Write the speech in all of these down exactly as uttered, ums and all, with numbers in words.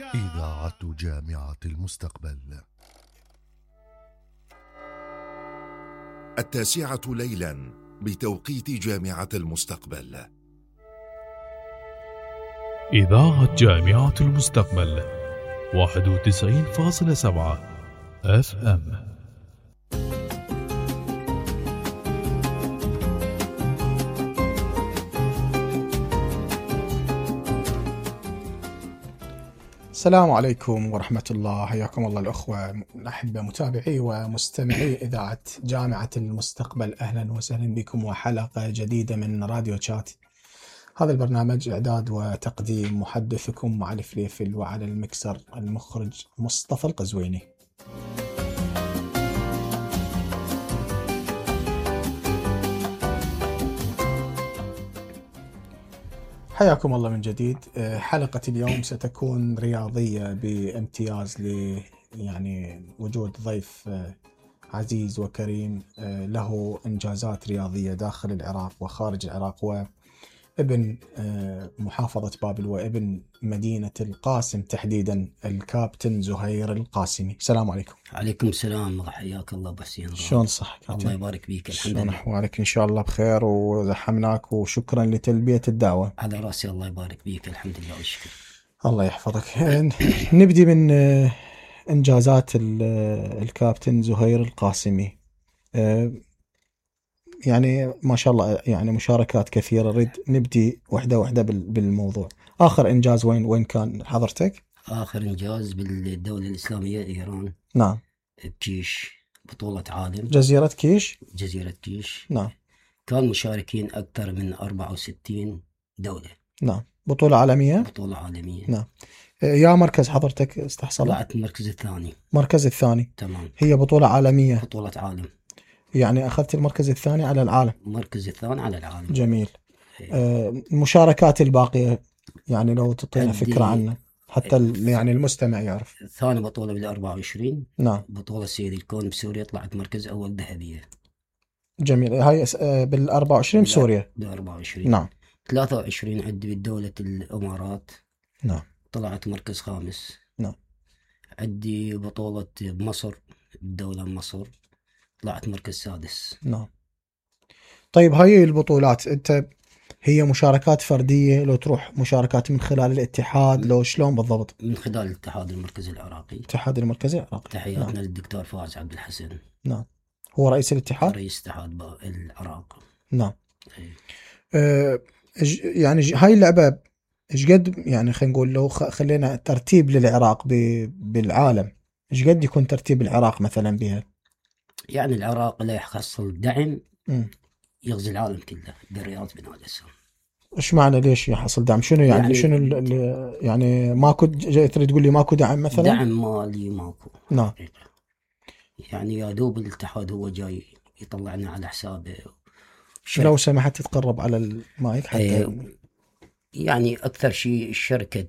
إذاعة جامعة المستقبل. التاسعة ليلا بتوقيت جامعة المستقبل. إذاعة جامعة المستقبل واحد وتسعين فاصلة سبعة اف ام. السلام عليكم ورحمة الله، حياكم الله الأخوة الأحبة متابعي ومستمعي إذاعة جامعة المستقبل. أهلا وسهلا بكم وحلقة جديدة من راديو تشات. هذا البرنامج إعداد وتقديم محدثكم مع الفليفل، وعلى المكسر المخرج مصطفى القزويني. حياكم الله من جديد. حلقة اليوم ستكون رياضية بامتياز، ل يعني وجود ضيف عزيز وكريم له إنجازات رياضية داخل العراق وخارج العراق، وابن محافظة بابل وابن مدينة القاسم تحديدا، الكابتن زهير القاسمي. السلام عليكم. عليكم السلام، حياك الله ابو حسين. شلون صحك؟ الله يبارك فيك. الحمد لله. لله. احوالك؟ ان شاء الله بخير، وزحمناك وشكرا لتلبية الدعوة. على راسي، الله يبارك فيك. الحمد لله والشكر. الله يحفظك. نبدي من انجازات الكابتن زهير القاسمي. يعني ما شاء الله، يعني مشاركات كثيرة. نريد نبدي وحده وحده بالموضوع. اخر انجاز وين وين كان حضرتك؟ اخر انجاز بالدولة الاسلامية ايران. نعم. بكيش، بطولة عالم. جزيرة كيش. جزيرة كيش. نعم. كان مشاركين اكثر من أربعة وستين دولة. نعم. بطولة عالمية. بطولة عالمية. نعم. يا مركز حضرتك استحصل؟ طلعت المركز الثاني. مركز الثاني. تمام. هي بطولة عالمية. بطولة عالم. يعني أخذت المركز الثاني على العالم. المركز الثاني على العالم. جميل. آه، المشاركات الباقية يعني لو تعطينا فكرة عنها حتى ال- يعني المستمع يعرف. ثاني بطولة بال أربعة وعشرين. نعم. بطولة سيد الكون بسوريا، طلعت مركز أول ذهبية. جميل. هاي بال أربعة وعشرين بسوريا. بال أربعة وعشرين. نعم. ثلاثة وعشرين عندي بدولة الإمارات. نعم. طلعت مركز خامس. نعم. عندي بطولة بمصر، الدولة مصر، طلعت مركز سادس. نعم. طيب هاي البطولات أنت هي مشاركات فردية، لو تروح مشاركات من خلال الاتحاد، لو شلون بالضبط؟ من خلال الاتحاد المركزي العراقي. الاتحاد المركزي العراقي. تحياتنا نعم. للدكتور فواز عبد الحسن. نعم. هو رئيس الاتحاد. رئيس اتحاد العراق. نعم. أه يعني هاي اللعبة ايش قد، يعني خلينا نقول لو خلينا ترتيب للعراق بالعالم، ايش قد يكون ترتيب العراق مثلا بها؟ يعني العراق لا يحصل دعم م. يغزي العالم كله بالرياض بناء الاسم. ايش معنى ليش يحصل دعم؟ شنو يعني, يعني شنو ال يعني ماكو، جاي تريد تقول لي ماكو دعم مثلا؟ دعم مالي ماكو. نعم. يعني يا دوب الاتحاد هو جاي يطلعنا على حسابه. لو سمحت تتقرب على المايك حتى. ايه يعني اكثر شيء الشركه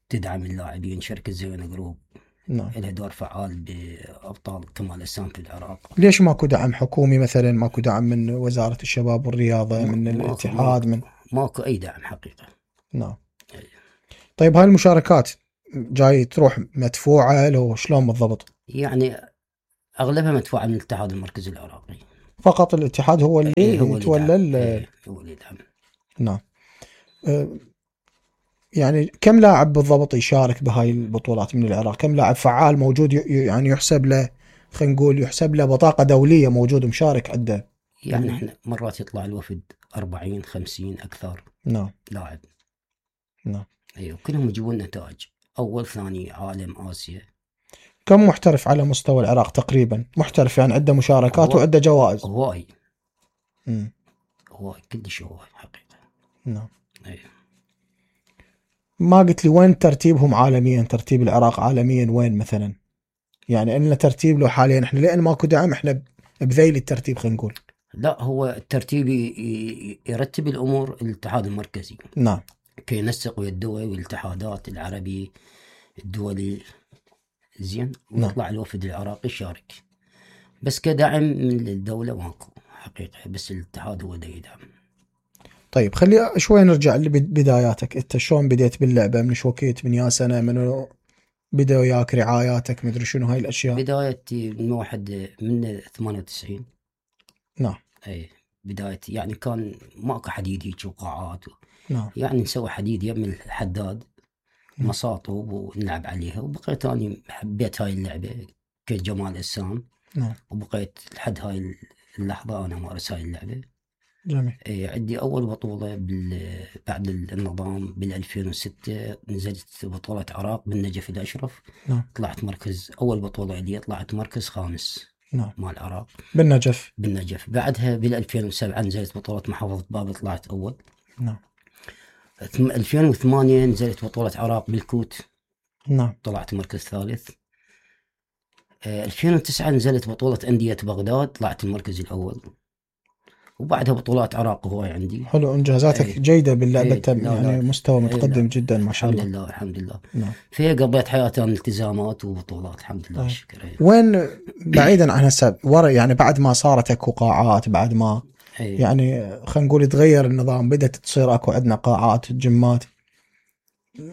تدعم اللاعبين، شركه زينة جروب. نعم. لها دور فعال بابطال كمال اجسام في العراق. ليش ماكو دعم حكومي مثلا؟ ماكو دعم من وزاره الشباب والرياضه، من ماكو الاتحاد؟ ماكو من ماكو اي دعم حقيقه. نعم. طيب هاي المشاركات جاي تروح مدفوعه لو شلون بالضبط؟ يعني اغلبها مدفوعه من الاتحاد المركزي العراقي. فقط الاتحاد هو اللي إيه هو يتولى. إيه هو اللي يدعم. نعم. أه يعني كم لاعب بالضبط يشارك بهاي البطولات من العراق؟ كم لاعب فعال موجود يعني يحسب له، خلينا نقول يحسب له بطاقة دولية موجود مشارك عنده؟ يعني احنا مرات يطلع الوفد أربعين خمسين أكثر. نعم. لاعب. نعم. أيوة كلهم يجيبون نتائج أول ثاني عالم آسيا. كم محترف على مستوى العراق تقريبا؟ محترف يعني عنده مشاركات وعنده جوائز. هواي. امم هواي كلش هواي حقيقة. نعم. أيوة. ما قلت لي وين ترتيبهم عالميا؟ ترتيب العراق عالميا وين مثلا؟ يعني إلنا ترتيب له حاليا احنا لأن ماكو دعم، احنا بذيل الترتيب خلينا نقول. لا هو الترتيب يرتب الأمور الاتحاد المركزي. نعم. كي ينسق ويا الدول والاتحادات العربي الدولي زين، ويطلع نعم. الوفد العراقي يشارك، بس كدعم من الدولة ماكو حقيقة، بس الاتحاد هو دا يدعم. طيب خلي شوي نرجع لبداياتك. انت شلون بديت باللعبة؟ من شو وقت؟ من يا سنة؟ من بدا وياك رعاياتك مدري شنو هاي الاشياء؟ بدايتي من واحد من ثمانية وتسعين. نعم. اي بدايتي يعني كان ماكو حديد هيك وقاعات و... نعم. يعني نسوي حديد يم الحداد مصاطب ونلعب عليها، وبقيت اني حبيت هاي اللعبه كجمال اجسام. نعم. وبقيت لحد هاي اللحظه انا امارس هاي اللعبه. جميل. اي عندي اول بطوله بال... بعد النظام بال ألفين وستة نزلت بطوله عراق بالنجف الاشرف. نعم. طلعت مركز، اول بطوله لي طلعت مركز خامس. نعم. مال العراق بالنجف. بالنجف. بعدها بال ألفين وسبعة نزلت بطوله محافظه بابل طلعت اول. نعم. ألفين وثمانية نزلت بطوله عراق بالكوت. نعم. طلعت مركز ثالث. ألفين وتسعة نزلت بطوله انديه بغداد طلعت المركز الاول. وبعدها بطولات عراق هواي عندي. حلو، انجازاتك ايه جيده باللعبه. ايه يعني لا لا مستوى متقدم ايه جدا ما شاء الحمد الله. لله الحمد لله. نعم. فيها قضيت حياتي عن التزامات وبطولات الحمد لله ايه. شكرا. ايه. وين بعيدا عن هسه ورا، يعني بعد ما صارت اكو قاعات، بعد ما ايه. يعني خلينا نقول تغير النظام، بدأت تصير اكو عندنا قاعات جيمات،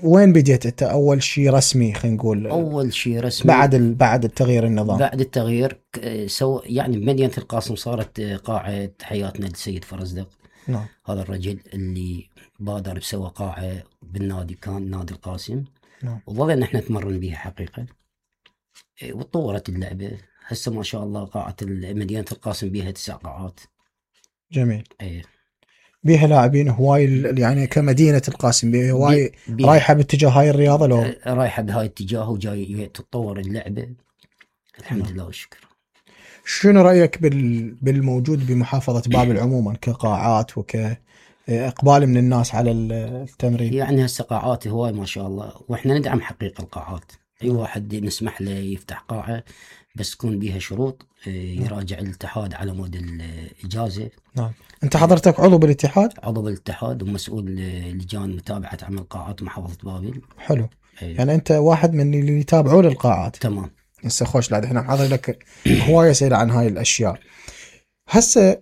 وين بديت انت اول شيء رسمي خلينا نقول؟ اول شيء رسمي بعد ال... بعد التغيير النظام. بعد التغيير سو يعني بمدينة القاسم صارت قاعة حياتنا للسيد فرزدق. نعم. هذا الرجل اللي بادر بسوى قاعة بالنادي كان نادي القاسم. نعم. وظلنا احنا نتمرن بها حقيقة. وتطورت اللعبة هسه ما شاء الله. قاعة مدينة القاسم بها تسع قاعات. جميل. ايه. بيها لاعبين هواي، يعني كمدينة القاسم بيها هواي بي رايحة باتجاه هاي الرياضة لو رايحة بهاي الاتجاه وجاي تتطور اللعبة الحمد لله والشكر. شنو رأيك بال... بالموجود بمحافظة بابل عموما كقاعات وكإقبال من الناس على التمرين؟ يعني هسه قاعات هواي ما شاء الله، واحنا ندعم حقيقة القاعات. اي واحد نسمح له يفتح قاعة بس تكون بيها شروط، يراجع الاتحاد على مود الإجازة. نعم. انت حضرتك عضو بالاتحاد؟ عضو بالاتحاد ومسؤول لجان متابعة عمل قاعات محافظة بابل. حلو. أيه. يعني انت واحد من اللي يتابعون القاعات. تمام. هسه خوش لعد احنا حاضر لك هواية اسئلة عن هاي الاشياء. هسه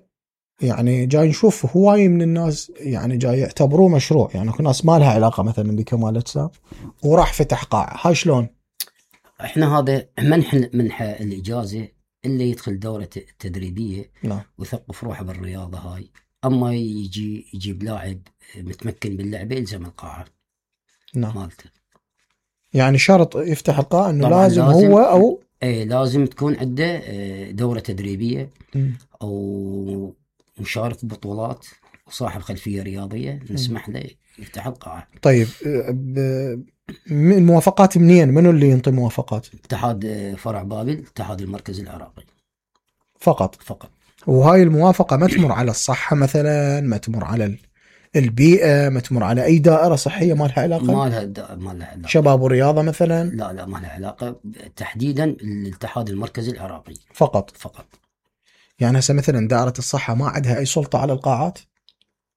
يعني جاي نشوف هواي من الناس يعني جاي يعتبروه مشروع، يعني كل ناس ما لها علاقة مثلا بكمال اجسام وراح فتح قاعة. هاي شلون؟ احنا هذا منح منح الاجازة اللي يدخل دورة تدريبية. نعم. ويثقف روحه بالرياضة هاي. اما يجي يجيب لاعب متمكن باللعبة يلزم القاعة. نعم. مالته. يعني شرط يفتح القاعة انه لازم, لازم هو او ايه لازم تكون عنده دورة تدريبية م. او مشارك ببطولات وصاحب خلفية رياضية نسمح له يفتح القاعة. طيب الموافقات منين؟ منو اللي ينطي موافقات؟ اتحاد فرع بابل، اتحاد المركز العراقي فقط. فقط. وهاي الموافقة ما تمر على الصحة مثلا، ما تمر على البيئة، ما تمر على أي دائرة صحية ما لها علاقة؟ ما لها ما لها علاقة. شباب ورياضة مثلا؟ لا لا ما لها علاقة تحديدا. الاتحاد المركزي العراقي فقط. فقط. يعني هسه مثلا دائرة الصحة ما عندها أي سلطة على القاعات؟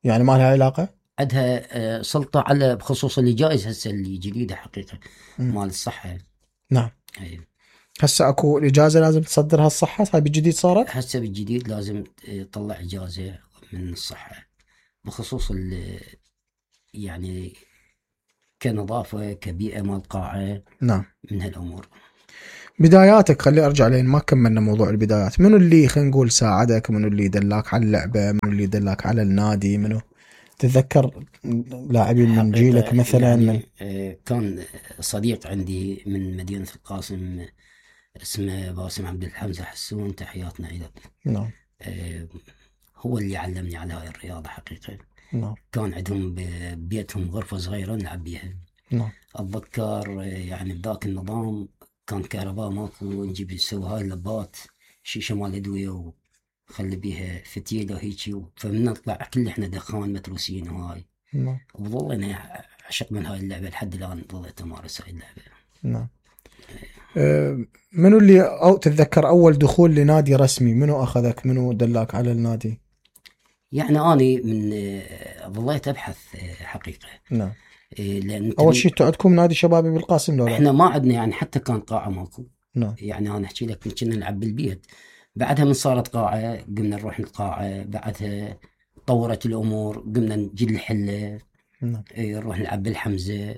يعني ما لها علاقة؟ عندها سلطة على بخصوص اللي جايز هسه اللي جديدة حقيقة م. مال الصحة. نعم. أيه. هسه اكو اجازه لازم تصدرها الصحه؟ هاي بالجديد صارت؟ هسه بالجديد لازم تطلع اجازه من الصحه بخصوص يعني كنظافه كبيئه مال قاعه. نعم. من هالامور. بداياتك خلي ارجع لين ما كملنا موضوع البدايات. منو اللي خلينا نقول ساعدك؟ منو اللي دلاك على اللعبه؟ منو اللي دلاك على النادي؟ منو تتذكر لاعبين من جيلك مثلا؟ يعني من... كان صديق عندي من مدينه القاسم اسمه باسم عبد الحمزه حسون، تحياتنا له. نعم. هو اللي علمني على هاي الرياضه حقيقه. نعم. كان عندهم ببيتهم غرفه صغيره نلعب بيها. نعم. اتذكر يعني بذاك النظام كان كهرباء ماكو، نجيب نسوي هاي اللبات شيشه مال ادويه وخلي بيها فتيله هيجي، فمن نطلع كل احنا دخان متروسين وهاي. نعم. وظل انا عشق من هاي اللعبه لحد الان ظليت امارس هاي اللعبه. نعم. أه منو اللي او تتذكر اول دخول لنادي رسمي؟ منو اخذك؟ منو دلاك على النادي؟ يعني اني من ظليت ابحث حقيقه. نعم. لأن اول شيء عندكم نادي شبابي بالقاسم لو لا؟ احنا ما عندنا يعني حتى كان قاعه ماكو. نعم. يعني انا احكي لك كنا نلعب بالبيت. بعدها من صارت قاعه قمنا نروح القاعه، بعدها طورت الامور قمنا نجي الحله. نعم. نروح نلعب بالحمزه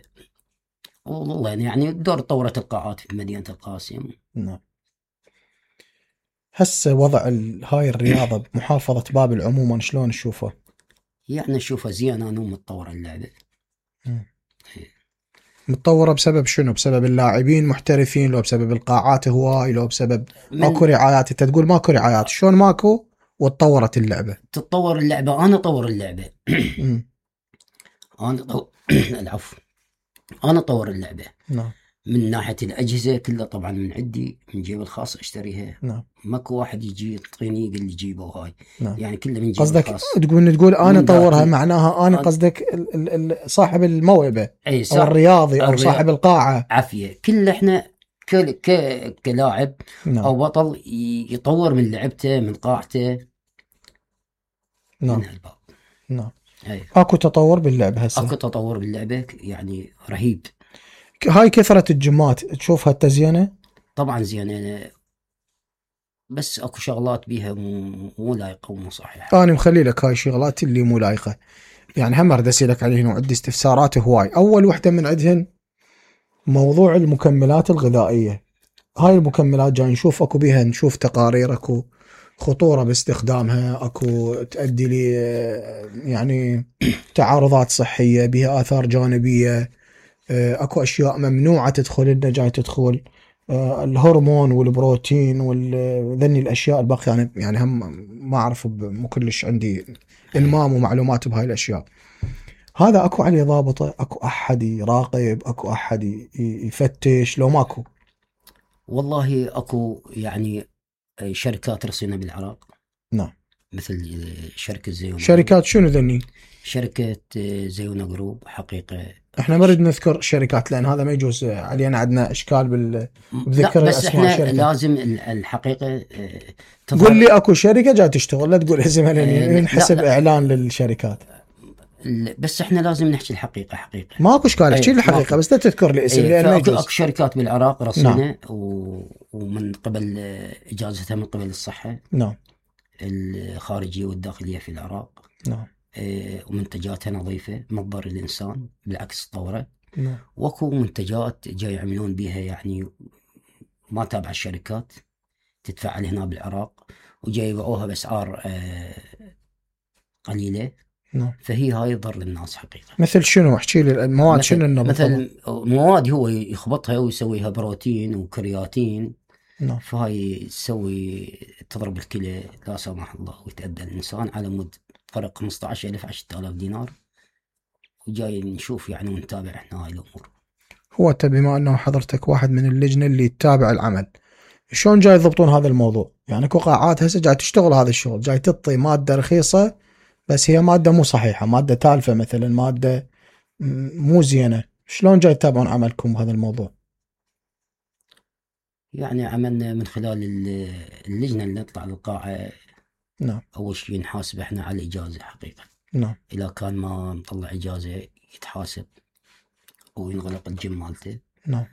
والله يعني دور طورة القاعات في مدينة القاسم. نعم. هسه وضع ال- هاي الرياضة بمحافظة بابل عموما شلون تشوفه؟ يعني اشوفها زينة انه متطورة اللعبة. متطورة بسبب شنو؟ بسبب اللاعبين محترفين، لو بسبب القاعات هواي، لو بسبب من- ماكو رعايات؟ انت تقول ماكو رعايات، شلون ماكو وتطورت اللعبة؟ تتطور اللعبة، انا اطور اللعبة. مم. انا طو... العفو، انا اطور اللعبة نعم من ناحية الأجهزة كلها طبعا من عندي، من جيبي الخاص أشتريها. نعم ماكو واحد يجي يعطيني يقول لي جيبه هاي. نعم. يعني كله من جيبي قصدك الخاص. تقول تقول انا من طورها، ذاتي. معناها انا أنا- قصدك ال- ال- ال- صاحب الموهبة أي او صح. الرياضي او الرياض- صاحب القاعة. عافية كل احنا ك... ك... كلاعب نعم أو بطل ي- يطور من لعبته من قاعته. نعم من هالباب. نعم. أي. اكو تطور باللعبة هسه. اكو تطور باللعبة يعني رهيب. هاي كثرة الجمات تشوفها التزينة؟ طبعا زين أنا بس اكو شغلات بيها مو مو لايقة ومو صحيحة. انا مخلي لك هاي الشغلات اللي مو لايقة، يعني هم ارد اسالك عليهن وعندي استفسارات هواي. اول وحدة من عندهن موضوع المكملات الغذائية. هاي المكملات جاي نشوف اكو بيها، نشوف تقارير اكو خطورة باستخدامها، اكو تؤدي لي يعني تعارضات صحية، بها آثار جانبية، اكو اشياء ممنوعة تدخل لنا جاي تدخل الهرمون والبروتين وذني الاشياء الباقية. يعني يعني هم ما اعرف، مو كلش عندي المام ومعلومات بهاي الاشياء. هذا اكو عليه ضابطة؟ اكو احد يراقب؟ اكو احد يفتش لو ماكو؟ والله اكو يعني شركات رصينة بالعراق. نعم. مثل شركة زيونا. شركات شنو ذني؟ شركة زيونا جروب حقيقة. احنا ما نريد نذكر شركات لان هذا ما يجوز علينا، عندنا اشكال بال بذكر لا بس اسماء احنا الشركة. لازم الحقيقة قول لي اكو شركة جاي تشتغل، لا تقول اسمها لان لا، ينحسب لا. اعلان للشركات. بس احنا لازم نحكي الحقيقة حقيقة. ماكو اشكال، احكي أيه، لي الحقيقة ماكو. بس لا تذكر لي اسم أيه، لان ما فأكو- يجوز. اكو شركات بالعراق رصينة. نعم. و... ومن قبل اجازتها من قبل الصحة نعم الخارجية والداخلية في العراق. نعم إيه، ومنتجاتها نظيفة ما تضر الانسان، بالعكس تطوره. نعم واكو منتجات جاي يعملون بيها يعني ما تابع الشركات، تتفعل هنا بالعراق وجاي يبيعوها باسعار آه قليله. نعم. فهي هاي تضر للناس حقيقه. مثل شنو؟ احكي لي المواد شنو انه مثل مواد هو يخبطها ويسويها بروتين وكرياتين. نعم. فهاي تسوي تضرب الكلى لا سمح الله ويتأذى الانسان على مود فرق خمسة عشر ألف عشرة آلاف دينار. وجاي نشوف يعني ونتابع احنا هاي الامور. هو انت بما انه حضرتك واحد من اللجنة اللي تتابع العمل، شلون جاي يضبطون هذا الموضوع؟ يعني اكو قاعات هسه جاي تشتغل هذا الشغل، جاي تعطي مادة رخيصة بس هي مادة مو صحيحة، مادة تالفة مثلا، مادة مو زينة. شلون جاي تتابعون عملكم بهذا الموضوع؟ يعني عملنا من خلال اللجنة اللي نطلع للقاعة. نعم. أول شيء نحاسب إحنا على الإجازة حقيقة. نعم. إذا كان ما مطلع إجازة يتحاسب وينغلق الجيم مالته. نعم.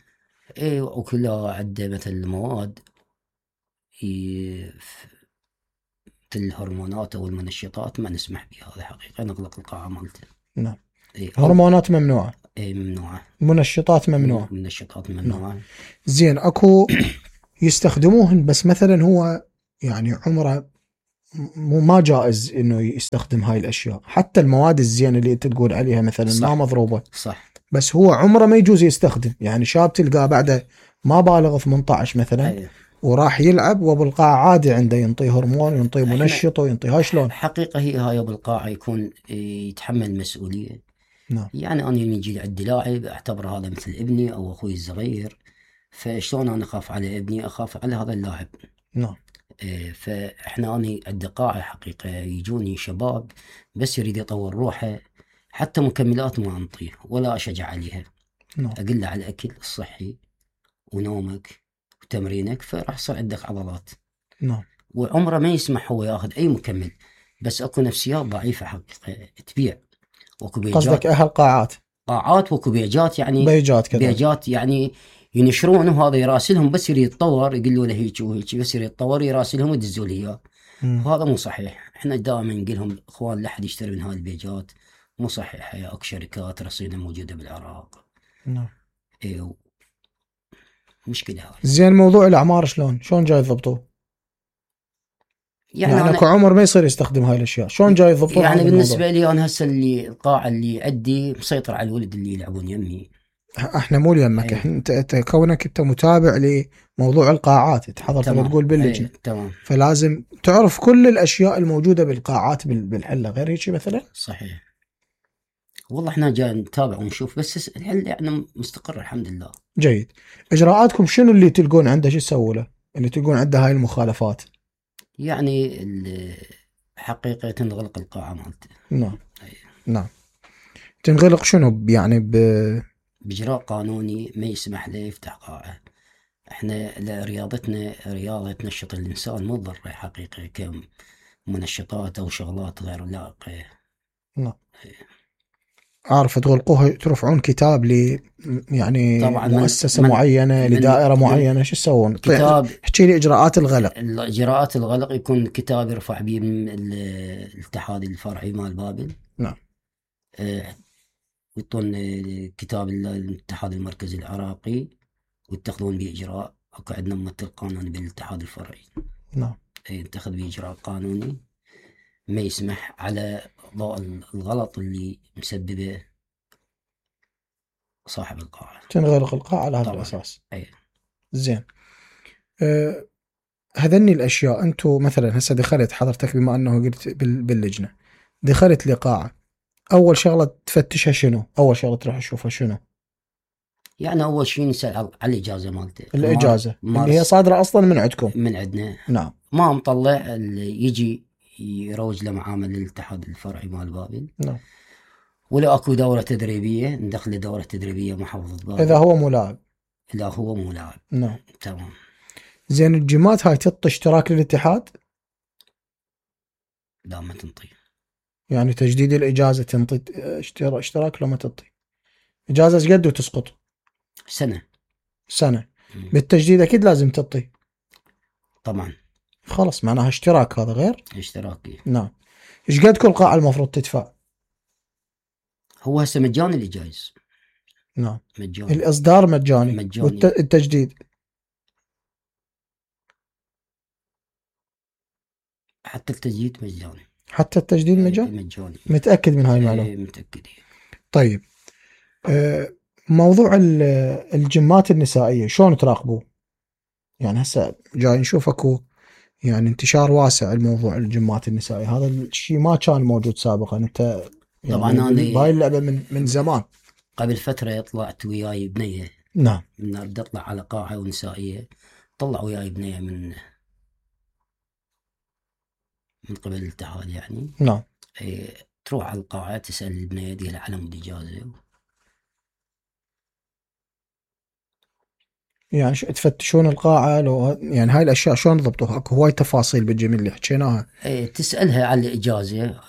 إيه وكلها عنده مثل مواد ي... مثل الهرمونات أو المنشطات ما نسمح بها، هذا حقيقة نغلق القاعة مالته. نعم. إيه هرمونات ممنوعة. إيه ممنوعة. منشطات ممنوعة. منشطات ممنوعة. نعم. زين اكو يستخدموهن بس مثلا هو يعني عمره مو ما جائز انه يستخدم هاي الاشياء، حتى المواد الزينه اللي انت تقول عليها مثلا صح. ما مضروبه. صح. بس هو عمره ما يجوز يستخدم. يعني شاب تلقاه بعده ما بالغ ثمانية عشر مثلا أيه. وراح يلعب وبالقاعه عادي عنده ينطي هرمون ينطي منشط وينطي هاي شلون؟ حقيقه هي هاي بالقاعه يكون يتحمل مسؤوليه. نعم. يعني انا يجي عندي لاعب اعتبر هذا مثل ابني او اخوي الصغير، فشلون انا اخاف على ابني؟ اخاف على هذا اللاعب. نعم. فاحنا أنا عندي قاعة حقيقة يجوني شباب بس يريد يطور روحه، حتى مكملات ما أنطيه ولا أشجع عليها. نعم. أقول له على الأكل الصحي ونومك وتمرينك فراح يصير عندك عضلات. نعم. وعمره ما يسمح هو ياخذ أي مكمل. بس أكو نفسيات ضعيفة حقيقة تبيع. وأكو بيجات قصدك أهل قاعات؟ قاعات وأكو بيجات يعني بيجات كذا بيجات يعني ينشرون وهذا يراسلهم بس يريد يتطور يقولوا له هيك وهيك بس يريد يتطور يراسلهم ويدزوا له اياه. وهذا مو صحيح. احنا دائما نقول لهم اخوان لا احد يشتري من هاي البيجات، مو صحيح. اكو شركات رصينة موجوده بالعراق. نعم. ايوه مشكلة هاي. زين موضوع الاعمار شلون شلون جاي يضبطوه؟ يعني, يعني أنا اكو عمر ما يصير يستخدم هاي الاشياء، شلون جاي يضبطون؟ يعني بالنسبة لي انا هسه اللي القاعة اللي عندي مسيطر على الولد اللي يلعبون يمي. احنا مو يمك، أيه. انت انت كونك انت متابع لموضوع القاعات، تحضر تقول باللجنه. أيه. تمام. فلازم تعرف كل الاشياء الموجوده بالقاعات بالحله، غير هيك مثلا. صحيح. والله احنا جاي نتابع ونشوف، بس الحل يعني مستقر الحمد لله. جيد. اجراءاتكم شنو اللي تلقون عنده؟ شو تسووا له اللي تلقون عنده هاي المخالفات؟ يعني حقيقة تنغلق القاعة مالته. نعم. أيه. نعم. تنغلق شنو يعني؟ ب بإجراء قانوني ما يسمح له يفتح قاعة. احنا رياضتنا رياضة تنشط الإنسان، مو ضروري حقيقة كمنشطات أو شغلات غير لائقة. نعم. عارف تغلقوها، ترفعون كتاب ل يعني طبعا مؤسسة من معينة من لدائرة معينة، شو تسوون؟ كتاب. احكي لي إجراءات الغلق. إجراءات الغلق يكون كتاب يرفع به من الاتحاد الفرعي مال بابل. نعم. اه يعطون كتاب الاتحاد المركزي العراقي ويتخذون به إجراء. اكو عندنا ممثل قانوني بالاتحاد الفرعي. نعم. يتخذ به إجراء قانوني ما يسمح على ضوء الغلط اللي مسببه صاحب القاعة. تنغلق القاعة على هذا الأساس. أي. زين. أه هذني الأشياء أنتو مثلا هسه دخلت حضرتك بما أنه قلت باللجنة، دخلت لقاعة، أول شغلة تفتشها شنو؟ أول شغلة تروح تشوفها شنو؟ يعني أول شيء نسأل على الإجازة مالته. الإجازة اللي هي صادرة أصلا من عندكم؟ من عندنا. نعم. ما مطلع اللي يجي يروج لمعامل الاتحاد الفرعي مال بابل. نعم. ولا اكو دورة تدريبية ندخل دورة تدريبية محافظة بابل إذا هو مو لاعب. إذا هو مو لاعب. نعم. تمام. زين الجيمات هاي تعطي اشتراك للاتحاد؟ لا ما تنطي. يعني تجديد الإجازة تنطي اشتراك لو ما تعطي؟ إجازة ايش قد وتسقط؟ سنة. سنة. م. بالتجديد أكيد لازم تعطي. طبعا. خلص معناها اشتراك، هذا غير اشتراكي. نعم. ايش قد كل قاعة المفروض تدفع؟ هو هسه مجاني اللي جايز. نعم. مجاني. الإصدار مجاني. مجاني. والتجديد حتى التجديد مجاني. حتى التجديد مجاني؟ مجاني. متأكد من هاي المعلومة؟ ايه متأكد. طيب موضوع الجيمات النسائية شلون تراقبوه؟ يعني هسه جاي نشوف اكو يعني انتشار واسع الموضوع الجيمات النسائية، هذا الشيء ما كان موجود سابقا. انت يعني طبعا انا بهاي اللعبة من من زمان. قبل فترة طلعت وياي بنية. نعم. من بدي اطلع على قاعة ونسائية، طلع وياي بنية من من قبل الاتحاد يعني. نعم. ايه تروح على القاعة تسأل البنية دي لها علم الإجازة. يعني تفتشون القاعة لو يعني هاي الأشياء شلون ضبطوها؟ اكو هواي تفاصيل بالجميل اللي حكيناها. ايه تسألها على الإجازة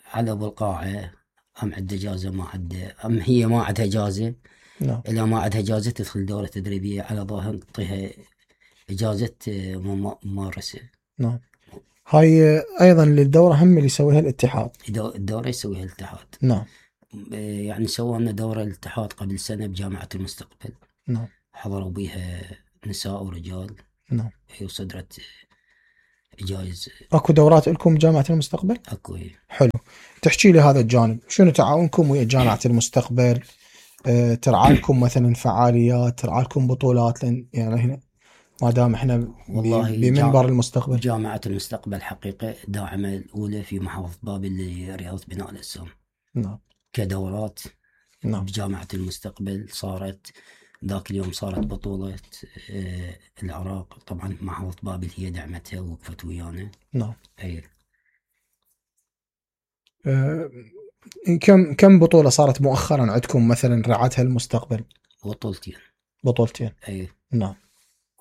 على أبو القاعة، أم عنده إجازة ما عنده، أم هي ما عندها إجازة. نعم. إذا ما عندها إجازة تدخل دورة تدريبية على ظاهر تعطيها إجازة ممارسة. نعم. هاي أيضا للدورة هم اللي يسويها الاتحاد. الدورة يسويها الاتحاد. نعم. يعني سوينا دورة الاتحاد قبل سنة بجامعة المستقبل. نعم. حضروا بيها نساء ورجال. نعم. هي وصدرت جائز. اكو دورات لكم بجامعة المستقبل؟ اكو. حلو. تحكي لي هذا الجانب، شنو تعاونكم ويا جامعة المستقبل؟ أه ترعى لكم مثلا فعاليات، ترعى لكم بطولات؟ لان يعني هنا ما دام احنا والله بمنبر المستقبل. جامعة المستقبل حقيقة داعمة الأولى في محافظة بابل لرياضة بناء الأجسام. نعم. كدورات. نعم. بجامعة المستقبل صارت ذاك اليوم صارت بطولة آه العراق، طبعا محافظة بابل هي دعمتها ووقفت ويانا. نعم. أي. أه كم كم بطولة صارت مؤخرا عندكم مثلا رعتها المستقبل؟ بطولتين. بطولتين. أي. نعم.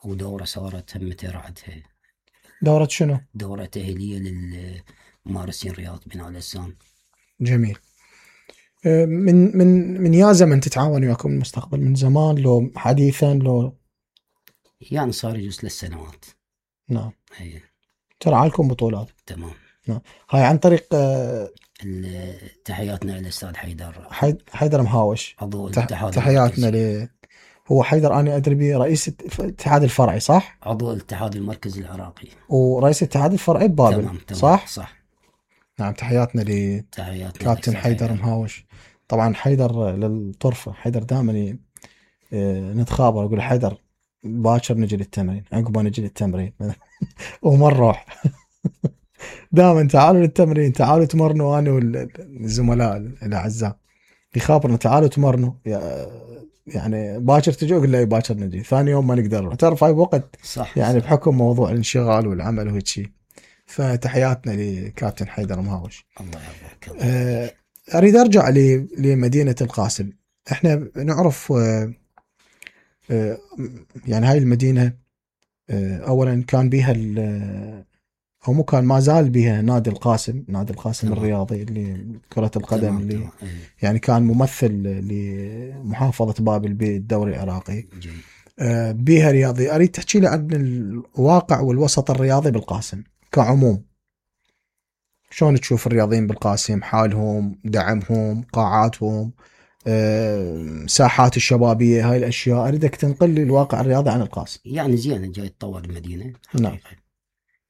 ودورة صارت هم رعتها. دورة شنو؟ دورة تأهيلية للممارسين رياضة بناء الأجسام. جميل. من من من يا زمن تتعاون وياكم المستقبل؟ من زمان لو حديثا لو؟ يعني صار يجوز ثلاث سنوات. نعم. أي. ترعى لكم بطولات. تمام. نعم. هاي عن طريق تحياتنا للأستاذ حيدر. حيد حيدر مهاوش. عضو تح... الاتحاد. تحياتنا هو حيدر أنا أدري به رئيس الاتحاد الفرعي صح؟ عضو الاتحاد المركزي العراقي. ورئيس الاتحاد الفرعي ببابل. تمام تمام صح؟ صح. نعم تحياتنا لكابتن حيدر مهاوش. طبعا حيدر للطرفة، حيدر دائما نتخابر أقول حيدر باكر نجي للتمرين، عقب نجي للتمرين وما نروح دائما تعالوا للتمرين، تعالوا تمرنوا أنا والزملاء الأعزاء يخابرنا تعالوا تمرنوا يعني باكر تجي، أقول له باكر نجي، ثاني يوم ما نقدر، تعرف هاي بوقت صح يعني صح. بحكم موضوع الانشغال والعمل وهيك شيء. فتحياتنا لكابتن حيدر مهاوش. الله يحفظك. أه أريد أرجع لمدينة القاسم. إحنا نعرف أه أه يعني هاي المدينة أه أولا كان بيها أو مو كان ما زال بها نادي القاسم، نادي القاسم تمام. الرياضي اللي كرة القدم تمام. اللي تمام. يعني كان ممثل لمحافظة بابل بالدوري العراقي. أه بها رياضي. أريد تحكي لي عن الواقع والوسط الرياضي بالقاسم كعموم، شلون تشوف الرياضيين بالقاسم، حالهم، دعمهم، قاعاتهم، أه ساحات الشبابية، هاي الأشياء أريدك تنقل لي الواقع الرياضي عن القاسم. يعني زين جاي تطور المدينة نعم.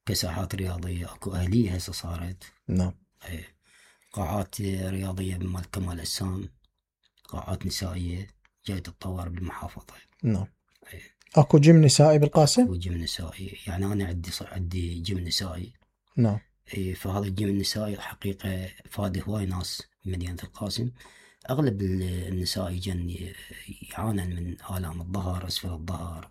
كساحات رياضية اكو أهلية هسه صارت. نعم. ايه. قاعات رياضية بمال كمال أجسام، قاعات نسائية جاي تتطور بالمحافظة. نعم. ايه. اكو جيم نسائي بالقاسم؟ اكو جيم نسائي، يعني أنا عندي عندي جيم نسائي. نعم. ايه. فهذا الجيم النسائي حقيقة فاد هواي ناس بمدينة القاسم. أغلب النساء يجن يعانن من آلام الظهر، أسفل الظهر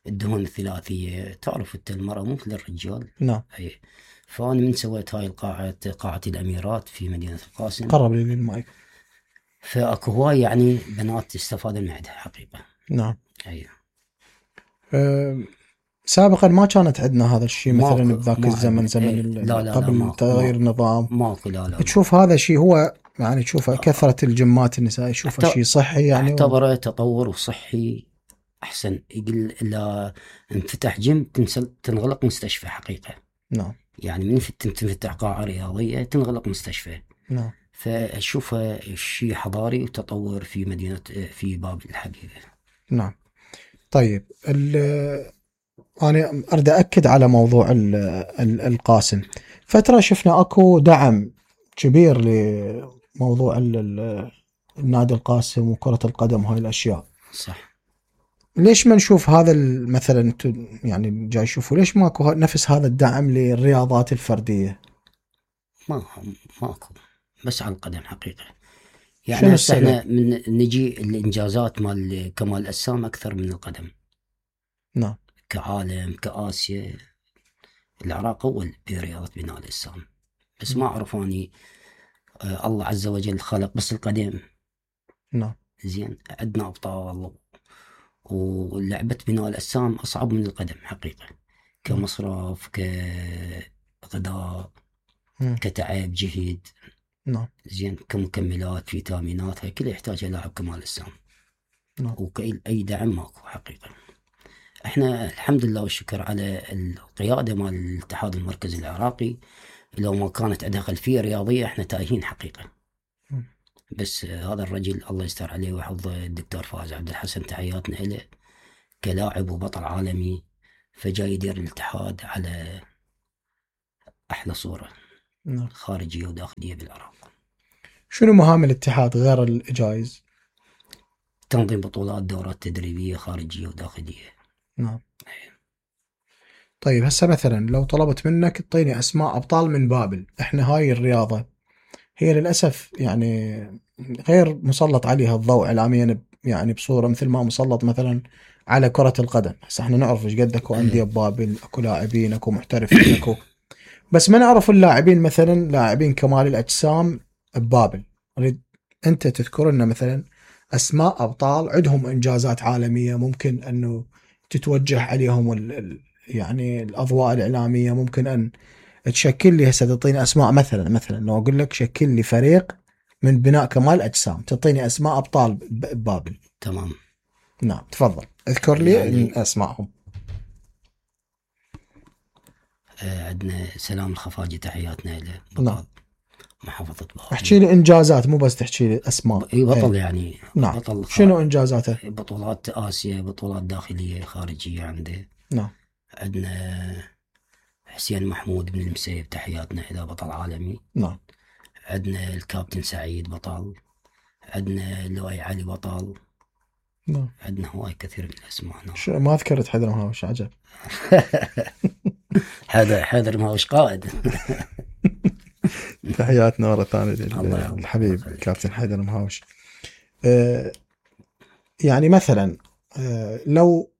والدهون الثلاثية. تعرف أنت المرأة مو مثل الرجال. نعم. أي. فأنا من سويت هاي القاعة، قاعة الأميرات في مدينة القاسم. قرب لي للمايك. فأكو هواي يعني بنات استفادوا من عندها حقيقة. نعم. أي. أه سابقا ما كانت عندنا هذا الشيء مثلا بذاك الزمن زمن ايه لا لا قبل لا تغيير النظام. ماكو لا لا. تشوف هذا شيء هو يعني تشوفه كثرة الجمات النساء تشوفه شيء صحي يعني؟ اعتبره و... تطور وصحي أحسن. يقول إلا انفتح جيم تنغلق مستشفى حقيقة. نعم. يعني من تنفتح قاعة رياضية تنغلق مستشفى. نعم. فأشوفه شيء حضاري وتطور في مدينة في بابل الحبيبة. نعم. طيب أنا أريد أكد على موضوع ال ال القاسم. فترة شفنا أكو دعم كبير لموضوع ال النادي القاسم وكرة القدم وهاي الأشياء. صح. ليش ما نشوف هذا مثلا يعني جاي يشوفوا ليش ماكو نفس هذا الدعم للرياضات الفردية؟ ما ماكو بس على القدم حقيقة. يعني احنا من نجي الإنجازات مال كمال أجسام أكثر من القدم. نعم. كعالم كآسيا العراق أول برياضة بناء الأجسام، بس ما أعرف أني آه الله عز وجل خلق بس القدم. نعم. زين عندنا أبطال ولعبة بناء الأجسام أصعب من القدم حقيقة، كمصرف كغذاء كتعب جهد. نعم. زين كمكملات فيتامينات هاي كلها يحتاجها لاعب كمال أجسام. نعم. وكأي دعم ماكو حقيقة. احنا الحمد لله والشكر على القيادة مال الاتحاد المركزي العراقي، لو ما كانت عندها خلفية رياضية احنا تايهين حقيقة. م. بس هذا الرجل الله يستر عليه ويحفظه الدكتور فاز عبد الحسن، تحياتنا له كلاعب وبطل عالمي، فجاي يدير الاتحاد على أحلى صورة. نعم. خارجية وداخلية بالعراق. شنو مهام الاتحاد غير الجائزة؟ تنظيم بطولات، دورات تدريبية خارجية وداخلية. نعم. طيب هسه مثلا لو طلبت منك تعطيني أسماء أبطال من بابل، إحنا هاي الرياضة هي للأسف يعني غير مسلط عليها الضوء إعلاميا يعني بصورة مثل ما مسلط مثلا على كرة القدم. هسه إحنا نعرف إيش قد أكو أندية ببابل، أكو لاعبين أكو محترفين أكو، بس ما نعرف اللاعبين مثلا لاعبين كمال الأجسام ببابل. أريد أنت تذكر لنا مثلا أسماء أبطال عندهم إنجازات عالمية ممكن أنه تتوجه عليهم ال يعني الأضواء الإعلامية، ممكن أن تشكل لي هسه تعطيني أسماء مثلا مثلا لو أقول لك شكل لي فريق من بناء كمال أجسام تعطيني أسماء أبطال ببابل. تمام. نعم تفضل اذكر لي يعني أسماءهم. عندنا سلام الخفاجي تحياتنا له. نعم. محافظة بابل. احكي لي انجازات، مو بس تحكي لي اسماء. اي بطل ايه. يعني. نعم. بطل شنو انجازاته؟ بطولات آسيا، بطولات داخلية خارجية عنده. نعم. عندنا حسين محمود بن المسيب، تحياتنا إلى بطل عالمي. نعم. عندنا الكابتن سعيد بطل، عندنا لؤي علي بطل. نعم. عندنا هواي كثير من الأسماء. شو ما ذكرت حيدر مهاوش؟ عجب. حيدر حيدر مهاوش قائد. تحياتنا مرة ثانية للحبيب كابتن حيدر مهاوش. أه يعني مثلا أه لو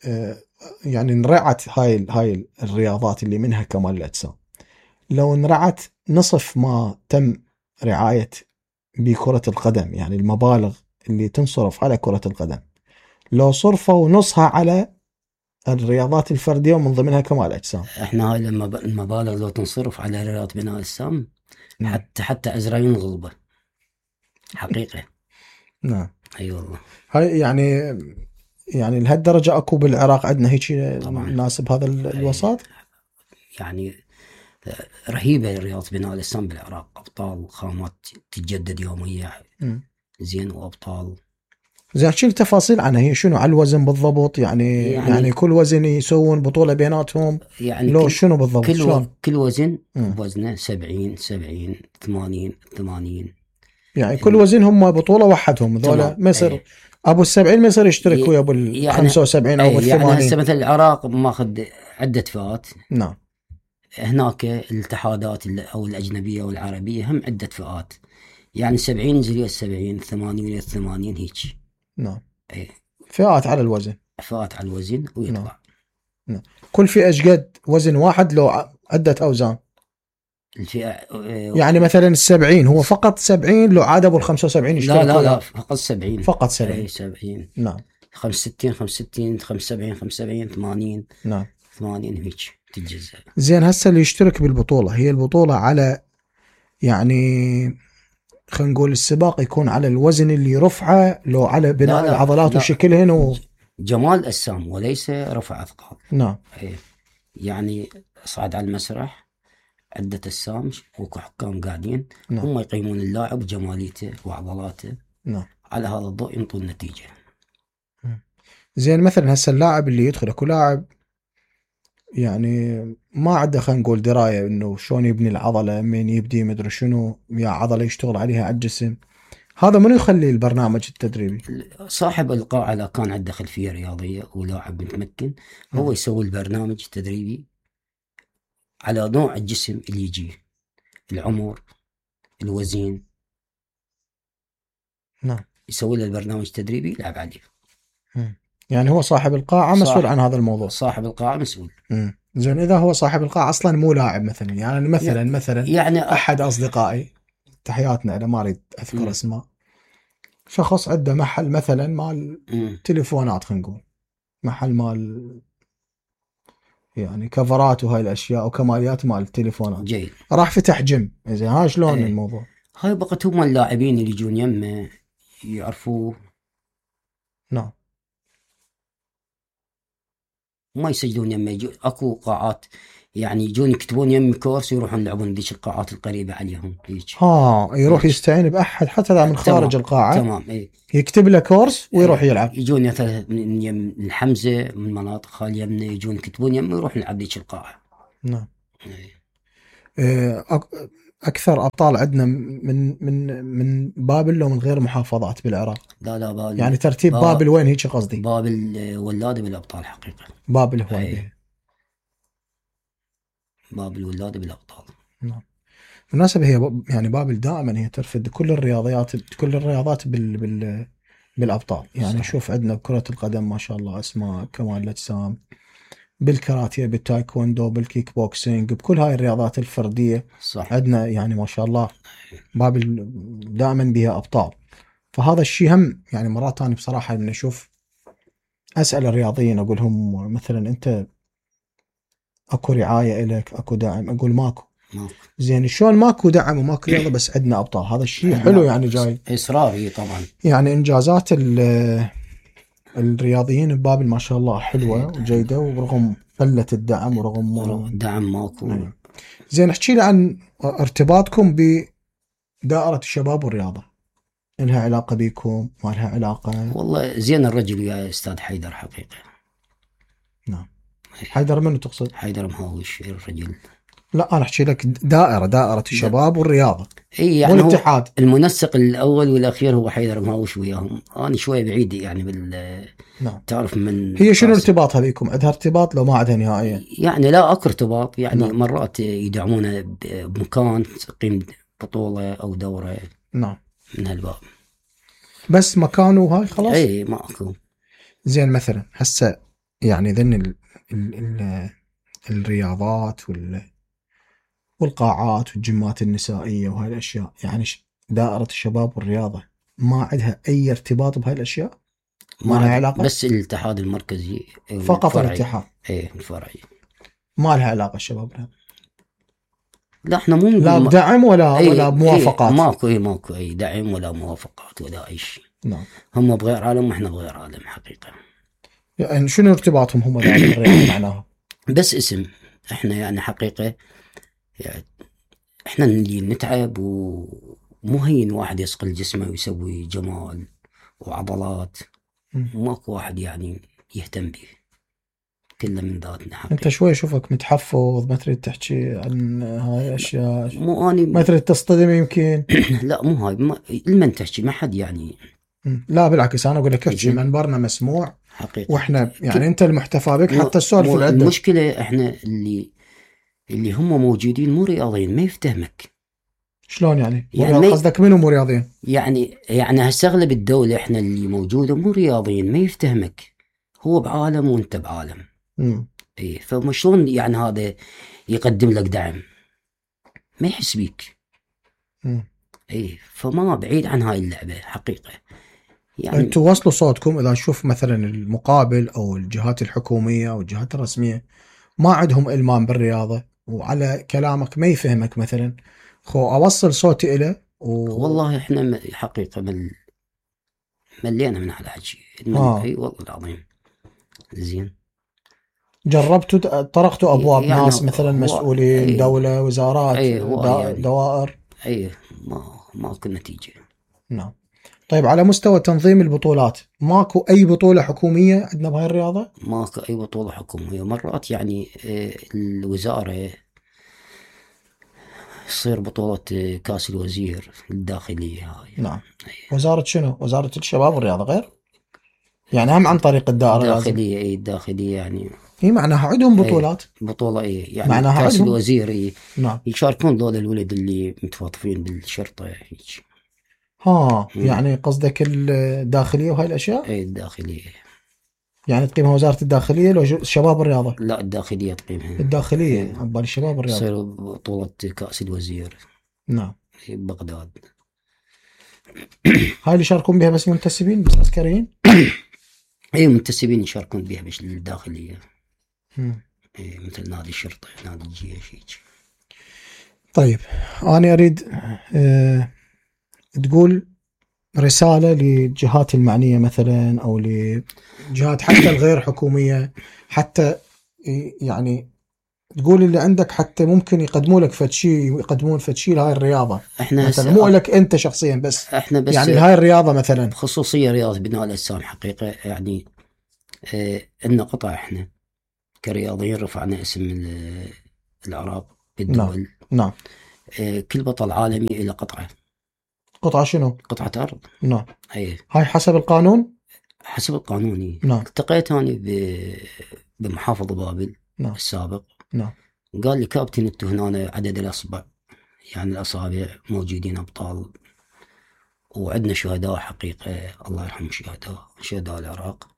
أه يعني انرعت هاي هاي الرياضات اللي منها كمال الأجسام، لو انرعت نصف ما تم رعاية بكرة القدم، يعني المبالغ اللي تنصرف على كرة القدم لو صرفوا نصها على الرياضات الفردية ومن ضمنها كمال الأجسام. احنا هاي المبالغ لو تنصرف على رياضة بناء الأجسام حتى حتى أزرائيل غلبة حقيقة. نعم. اي والله. هاي يعني يعني لهالدرجة اكو بالعراق عندنا هيك ناس بهذا الوسط؟ يعني رهيبة رياضة بناء الأجسام بالعراق، أبطال خامات تتجدد يوميا. م. زين وأبطال. زين احكي لي تفاصيل عنها، هي شنو على الوزن بالضبط؟ يعني يعني, يعني كل وزن يسوون بطولة بيناتهم؟ يعني لو شنو بالضبط؟ كل شلون؟ كل وزن وزنه سبعين سبعين ثمانين ثمانين، يعني كل وزن هم بطولة وحدهم ذولا، ما يصير ايه. ابو السبعين ما يصير يشترك ويا ابو الخمسة وسبعين او ابو الثمانين. يعني هسه مثل العراق ماخذ عدة فئات. نعم. هناك الاتحادات او الأجنبية والعربية هم عدة فئات، يعني سبعين ينزل السبعين، ثمانين الثمانين هيك. نعم. ايه. فئات على الوزن. فئات على الوزن ويطلع. نعم. نعم. كل فئة ايش قد وزن واحد لو عدة اوزان؟ الفئة يعني مثلا السبعين هو فقط سبعين، لو عاد ابو الخمسة وسبعين يشترك؟ لا لا لا فقط سبعين. فقط سبعين. اي سبعين. نعم. خمسة وستين خمسة وستين خمسة وسبعين خمسة وسبعين ثمانين. نعم. ثمانين هيك تتجزأ. زين هسه اللي يشترك بالبطولة، هي البطولة على يعني خلينا نقول السباق يكون على الوزن اللي رفعه، لو على بناء لا لا العضلات وشكلهن و... جمال أجسام وليس رفع أثقال. نعم. ايه. يعني صعد على المسرح عدة أجسام وحكام قاعدين. نعم. هم يقيمون اللاعب جماليته وعضلاته. نعم. على هذا الضوء ينطون النتيجة. زين مثلا هسه اللاعب اللي يدخل، اكو لاعب يعني ما عنده خلينا نقول دراية انه شلون يبني العضلة، من يبدي مدري شنو يا عضلة يشتغل عليها على الجسم، هذا منو يخلي البرنامج التدريبي؟ صاحب القاعة إذا كان عنده خلفية رياضية ولاعب متمكن هو م. يسوي البرنامج التدريبي على نوع الجسم اللي يجي، العمر، الوزن. نعم. يسوي له البرنامج التدريبي يلعب عليه. م. يعني هو صاحب القاعة مسؤول عن هذا الموضوع. صاحب القاعة مسؤول. م. زين إذا هو صاحب القاعة أصلا مو لاعب مثلا، يعني مثلا يعني مثلا يعني أحد أصدقائي، تحياتنا أنا ما أريد أذكر اسمه، شخص عنده محل مثلا مال م. تليفونات، خلينا نقول محل مال يعني كفرات وهاي الأشياء وكماليات مال التليفونات. جيد. راح فتح جيم. زين ها شلون ايه. الموضوع هاي بقت هم اللاعبين اللي يجون يمه يعرفوه. نعم. ما يسجلون يمه، يجون اكو قاعات يعني يجون يكتبون يم كورس يروحون يلعبون ذيك القاعات القريبة عليهم هيك. ها يروح هيك. يستعين بأحد حتى من خارج تمام. القاعة. تمام. ايه. يكتب له كورس ويروح يلعب. يجون مثلا من يم الحمزة من مناطق خال يمنا يجون يكتبون يم ويروح يلعب ذيك القاعة. نعم. ايه. أكثر أبطال عندنا من من من بابل لو من غير محافظات بالعراق؟ لا لا بابل. يعني ترتيب بابل, بابل وين هيك قصدي؟ بابل ولادة بالأبطال حقيقة. بابل هو ايه. بابل ولادة بالأبطال. نعم. بالمناسبة هي يعني بابل دائما هي ترفد كل الرياضيات كل الرياضات بال بال بالأبطال، يعني صحيح. شوف عندنا كرة القدم ما شاء الله أسماء، كمال الأجسام، بالكاراتيه، بالتايكوندو، بالكيك بوكسينج، بكل هاي الرياضات الفردية صح. عندنا يعني ما شاء الله بابل دائما بها أبطال. فهذا الشيء هم يعني مرات ثانية بصراحة من أشوف أسأل الرياضيين أقولهم مثلا أنت أكو رعاية إلك، أكو دعم؟ أقول ماكو. ماكو. زين شلون ماكو دعم وماكو رياضة بس عندنا أبطال؟ هذا الشيء حلو يعني جاي إصراري طبعا. يعني إنجازات الرياضيين ببابل ما شاء الله حلوة وجيدة، ورغم قلة الدعم ورغم دعم ماكو. زين احكي لي عن ارتباطكم بدائرة الشباب والرياضة، لها علاقة بيكم ما لها علاقة؟ والله زين الرجل ويا أستاذ حيدر حقيقة. نعم. حيدر منو تقصد؟ حيدر مهاوش الرجل. لا أنا أحكي لك دائرة دائرة الشباب والرياضة. إيه يعني والاتحاد. المنسق الأول والأخير هو حيدر مهاوش وياهم. أنا شوي بعيد يعني بال. نعم. تعرف من. هي شنو ارتباطها بيكم؟ عندها ارتباط لو ما عندها نهائيا؟ يعني لا أكو ارتباط يعني. نعم. مرات يدعمونا بمكان تقيم بطولة أو دورة. نعم. من هالباب. بس مكانه هاي خلاص؟ إيه ما أكو. زين مثلا هسه يعني ذن ال ال ال الرياضات وال والقاعات والجمات النسائية وهاي الأشياء، يعني دائرة الشباب والرياضة ما عندها أي ارتباط بهاي الأشياء؟ ما لها علاقة؟ بس الاتحاد المركزي فقط الاتحاد. إيه الفرعي. ما لها علاقة الشباب والرياضة. لا احنا مو لا بدعم ولا أي ولا موافقات. أي ماكو اي ماكو اي دعم ولا موافقات ولا اي شيء. نعم. هم بغير عالم واحنا بغير عالم حقيقة. يعني شنو ارتباطهم هم بالرياضة معناها؟ بس اسم. احنا يعني حقيقة يعني احنا اللي نتعب ومو هين واحد يصقل جسمه ويسوي جمال وعضلات. ماكو واحد يعني يهتم به. كله من ذاتنا حقيقة. انت شوي اشوفك متحفظ، ما تريد تحكي عن هاي الاشياء. مو اني ما تريد تصطدم يمكن. لا مو هاي ما... لمن تحكي ما حد يعني. لا بالعكس انا اقول لك احكي، منبرنا مسموع حقيقة. واحنا يعني ك... انت المحتفى بك حتى السؤال في العدة. المشكلة احنا اللي اللي هم موجودين مو رياضيين ما يفتهمك. شلون يعني؟ يعني قصدك منو مو رياضيين؟ يعني يعني هالشغلة الدولة احنا اللي موجودة مو رياضيين ما يفتهمك. هو بعالم وانت بعالم. امم ايه فمشلون يعني هذا يقدم لك دعم ما يحس بيك. امم ايه فما بعيد عن هاي اللعبة حقيقة. يعني انتوا وصلوا صوتكم اذا نشوف مثلا المقابل او الجهات الحكومية او الجهات الرسمية ما عندهم إلمام بالرياضة وعلى كلامك ما يفهمك مثلا، خو اوصل صوتي إله و... والله احنا حقيقة مل... ملينا من هذا الحكي. آه. اي والله العظيم. زين جربتوا طرقتوا ابواب يعني ناس مثلا مسؤولين أيه دولة وزارات أيه دا يعني دوائر؟ ايه ما ماكو نتيجة. نعم. طيب على مستوى تنظيم البطولات ماكو اي بطولة حكومية عندنا بهاي الرياضة؟ ماكو اي بطولة حكومية. مرات يعني الوزارة يصير بطولة كاس الوزير الداخلية هاي. نعم. وزارة شنو؟ وزارة الشباب والرياضة غير؟ يعني هم عن طريق الدائرة الداخلية. اي الداخلية يعني هي معناها عندهم بطولات. بطولة اي يعني معناها كاس عندهم. الوزير اي. نعم. يشاركون دول الولد اللي متوظفين بالشرطة هيك. ها مم. يعني قصدك الداخلية وهاي الاشياء؟ اي الداخلية. يعني تقيمها وزارة الداخلية لو الشباب والرياضة؟ لا الداخلية تقيمها. الداخلية عبالي الشباب والرياضة. تصير بطولة كأس الوزير. نعم. في بغداد. هاي اللي يشاركون بها بس منتسبين بس عسكريين؟ اي منتسبين يشاركون بها بس الداخلية. مم. اي مثل نادي الشرطة نادي الجيش هيك. طيب أنا أريد أه تقول رسالة للجهات المعنية مثلا أو لجهات حتى الغير حكومية، حتى يعني تقول اللي عندك حتى ممكن يقدموا لك فد شيء يقدمون فد شيء لهاي الرياضة احنا مثلا مو لك أنت شخصيا بس احنا بس يعني هاي الرياضة مثلا خصوصية رياضة بناء الأجسام حقيقة يعني اه إن قطع احنا كرياضيين رفعنا اسم العراق بالدول. نعم. نعم. اه كل بطل عالمي إلى قطعة. قطعة شنو؟ قطعة أرض. نعم. ايه هاي حسب القانون؟ حسب القانون. نعم. التقيت أنا بمحافظ بابل. نعم. السابق. نعم. قال لي كابتن انتو هنا عدد الأصبع يعني الأصابع موجودين أبطال وعندنا شهداء حقيقة الله يرحم الشهداء شهداء العراق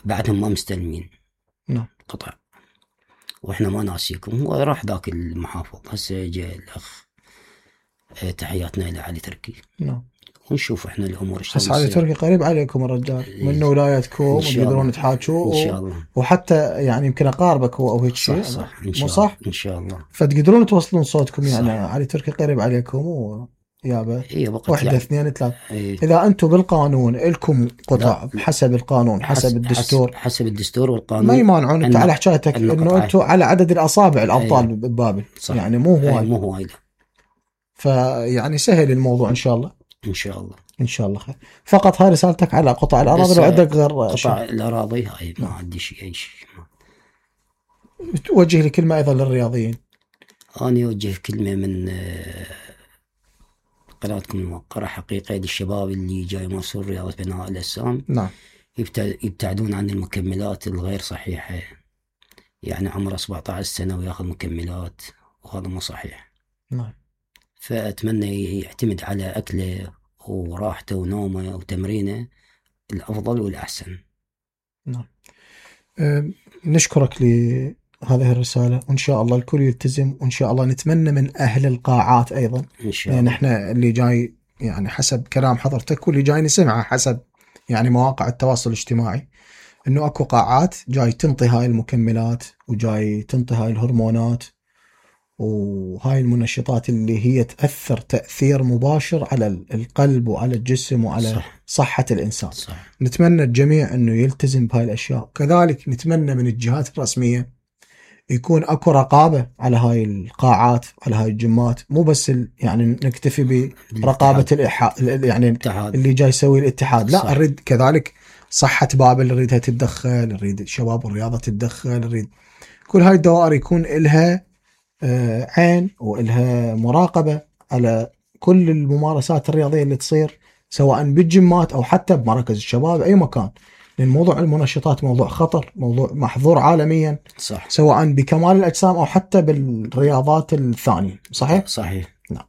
بعدهم ما مستلمين. نعم. قطع وإحنا ما ناسيكم. هو راح ذاك المحافظ هسه جاء الأخ تحياتنا إلى علي تركي. نعم. ونشوف إحنا الأمور بس علي تركي قريب عليكم الرجال من ولايتكم وتقدرون تحاكوا إن شاء الله. وحتى يعني يمكن أقاربك هو أو هيك شيء. صح صح إن شاء الله. صح إن شاء الله. فتقدرون توصلون صوتكم يعني صح. علي تركي قريب عليكم و... يابا هي وقت واحدة يعني اثنين ثلاث. إيه. إذا أنتم بالقانون لكم قطع لا. حسب القانون حسب حس- الدستور حس- حسب الدستور والقانون ما يمانعون. أنت النق- على حكايتك إنه النقطة. أنتم على عدد الأصابع الأبطال إيه. ببابل صح. يعني مو إيه، هواي. مو هواي لا. فيعني سهل الموضوع إن شاء الله. ان شاء الله. إن شاء الله خير. فقط هاي رسالتك على قطع الأراضي بس لو عندك غير شيء؟ قطع الاراضي هاي ما عندي شيء اي شيء. توجه لي كلمة أيضا للرياضيين. أنا أوجه كلمة من آه، قناتكم الموقرة حقيقة للشباب اللي جاي يمارسون رياضة بناء الأجسام. نعم. يبتع- يبتعدون عن المكملات الغير صحيحة. يعني عمره سبعة عشر سنة وياخذ مكملات وهذا مو صحيح. نعم. فأتمنى يعتمد على أكله وراحته ونومه وتمرينه الأفضل والأحسن. نعم. أه نشكرك لهذه الرسالة وإن شاء الله الكل يلتزم وإن شاء الله نتمنى من أهل القاعات أيضا إن شاء يعني الله. احنا اللي جاي يعني حسب كلام حضرتك واللي جاي نسمعه حسب يعني مواقع التواصل الاجتماعي انه اكو قاعات جاي تنطي هاي المكملات وجاي تنطي هاي الهرمونات وهاي المنشطات اللي هي تأثر تأثير مباشر على القلب وعلى الجسم وعلى صح. صحة الإنسان. صح. نتمنى الجميع انه يلتزم بهاي الاشياء. كذلك نتمنى من الجهات الرسمية يكون اكو رقابة على هاي القاعات على هاي الجمات مو بس يعني نكتفي برقابة الإحا... يعني الاتحاد. اللي جاي يسوي الاتحاد لا صح. نريد كذلك صحة بابل نريدها تتدخل نريد الشباب والرياضة تتدخل نريد كل هاي الدوائر يكون إلها عين وإلها مراقبة على كل الممارسات الرياضية اللي تصير سواء بالجمات أو حتى بمراكز الشباب أي مكان لأن موضوع المنشطات موضوع خطر موضوع محظور عالميا. صح. سواء بكمال الأجسام أو حتى بالرياضات الثانية. صحيح؟ صحيح. نعم.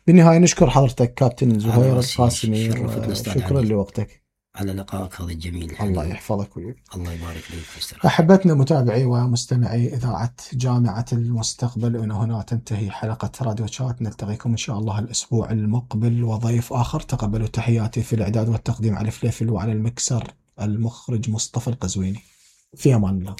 بالنهاية نشكر حضرتك كابتن زهير راسي. القاسمي شرفتنا أستاذ شكرا علي. لوقتك. على لقائك هذا الجميل. الله يحفظك وياك. الله يبارك فيك. أحبتنا متابعي ومستمعي إذاعة جامعة المستقبل وإن هنا تنتهي حلقة راديو شات. نلتقيكم إن شاء الله الأسبوع المقبل وضيف آخر. تقبلوا تحياتي في الإعداد والتقديم على فليفل وعلى المكسر المخرج مصطفى القزويني. في أمان الله.